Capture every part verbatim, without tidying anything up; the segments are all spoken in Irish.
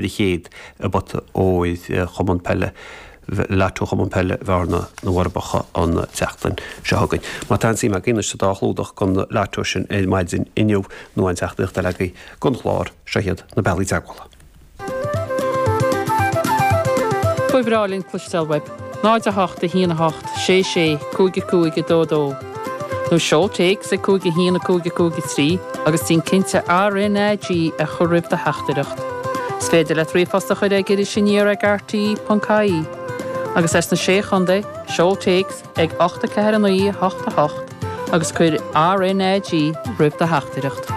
chéad i bpota óir Chumann Peile Lotto Chumann Peile Bhearna na bhForbacha an tseachtain seo chugainn. Má tá suim agaibh anois sa dá chlúdach den Lotto sin ar maidin inniu nó aon teachtaireacht eile agaibh don chlár, seo iad na bealaí teagmhála. Ba bhreá linn cloisteáil uaibh. náid a hocht a haon a hocht sé sé cúig a cúig a dó dó. Nó seol téacs ag cúig a haon a cúig a cúig a trí agus déan cinnte R N A G a chur roimh do theachtaireacht. Is féidir leat ríomhphost a chur ag Iris Aniar ag R T E ponc I E. Agus as na Sé Chontae, seol téacs ag ocht a ceathair a naoi a hocht a hocht agus cuir R N A G roimh do theachtaireacht.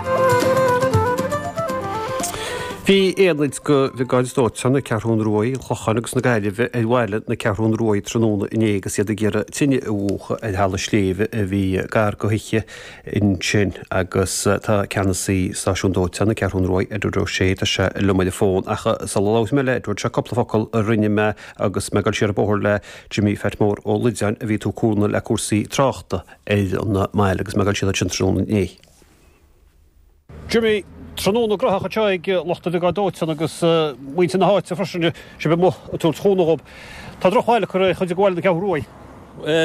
Bhí aonaid de Bhriogáid Dóiteáin na Ceathrún Rua, an Chlocháin agus na Gaillimhe ar bhaile na Ceathrún Rua tráthnóna inné agus iad ag iarraidh tine a mhúchadh ar thalamh sléibhe a bhí gar do thithe ansin agus tá ceannasaí stáisiún dóiteáin na Ceathrún Rua, Edward O'Shea, tá sé liom ar an bhfón ach sula labhróidh mé le Edward, seo cúpla focal a rinne mé agus mé ag dul siar an bóthar le Jimmy Phat Mór Ó Loideáin a bhí ag tabhairt cúnamh le cúrsaí tráchta ar an mbaile agus mé ag dul siar ansin tráthnóna inné. Jimmy, tráthnóna gnóthach anseo ag lucht an bhriogáid dóiteáin agus muintir na háite freisin, sibh amuigh ag tabhairt cúnamh dóibh. Tá drochbhail curtha ar chuid de bhaile na Ceathrún Rua.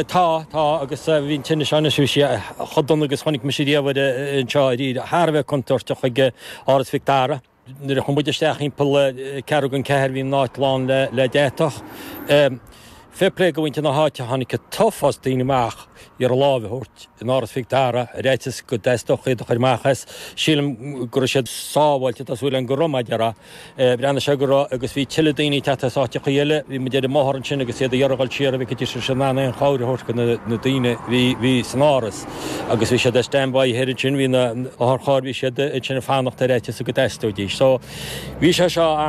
Tá, tá, agus bhí an tine seo anois, bhí sí chomh dona agus chonaic mise riamh anseo ariamh, thar a bheith contúirteach ag Áras Mhic Dara. Nuair a chuaigh muid isteach thimpeall ceathrú don ceathair bhí an áit lán le deatach. Fair play do mhuintir na háite, tháinig an t-uafás daoine amach iarraidh lámh a thabhairt in Áras Mhic Dara ar fhaitíos go dteastódh iad a chur amach as. Sílim go raibh siad sábháilte, tá súil agam go raibh, mar a déarfá. Bhreathnaigh sé go raibh agus bhí tuilleadh daoine ag teacht as áiteachaí eile. Bhí muid ar an mbóthar ansin agus iad ag iarraidh dul siar an bhfeicfidís raibh siad in ann aon chabhair a thabhairt do na daoine a bhí san áras agus bhí siad ar stand-by thoir ansin, bhí na otharchairr, bhí siad ansin ag fanacht ar fhaitíos go dteastóidís. So bhí sé seo an.